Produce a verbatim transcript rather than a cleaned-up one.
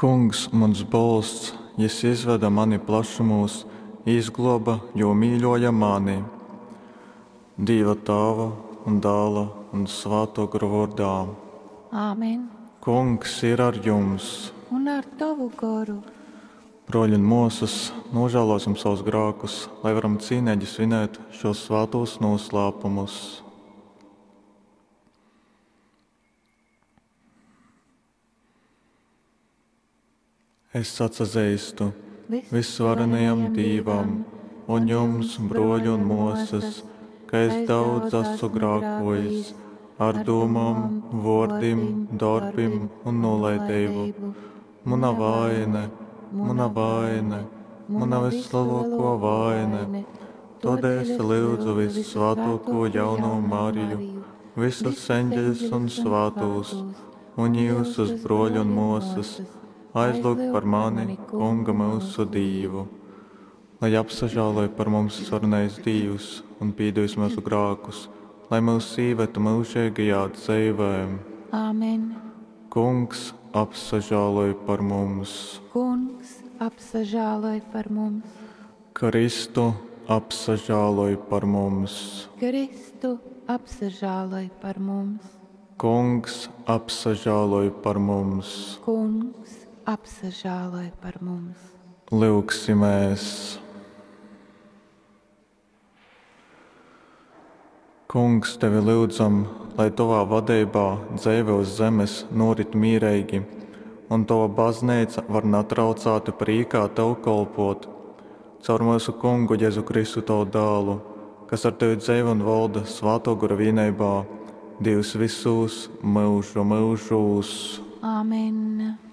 Kungs muns bolsts, jys izvede mani plašumūs, izglōba, jo mīļōja mani. Dīva Tāva un Dāla un Svātō Gora vōrdā. Āmen. Kungs ir ar jums! Un ar tovu goru. Brōļi un mōsas, nūžālōsim sovus grākus, lai varam cīneigi svinēt šūs svātūs nūslāpumus. Es atsazeistu vysvarenajam Dīvam un jums, brōļi un mōsas, ka es daudz esmu grākōjis ar dūmom, vōrdim, dorbim un nūlaideibu. Muna vaine, muna vaine, muna vyslelōkō vaine. Tōdēļ es lyudzu vyssvātōkū jaunū Mariju, visus eņģeļus un svātūs, un jyusus, brōļi un mōsas, aizlyugt par mani Kunga myusu Dīvu. Lai apsažāloj par mums svarenais Dīvs un pīdevis myusu grākus, lai myus īvetu myužeigajā dzeivē. Āmen. Kungs, apsažāloj par mums! Kungs, apsažāloj par mums! Kristu, apsažāloj par mums! Kristu, apsažāloj par mums! Kungs, apsažāloj par mums! Kungs, apsažāloj par mums! Lyugsimēs! Kungs, tevi lyudzam, lai tovā vadeibā dzeive uz zemes nūrit mīreigi un tova bazneica var natraucāti prīkā tev kolpōt. Caur myusu Kungu Jezu Kristu tavu dālu, kas ar tevi dzeivo un volda Svātō Gora vīneibā, Dīvs vysūs myužu myužūs. Āmen.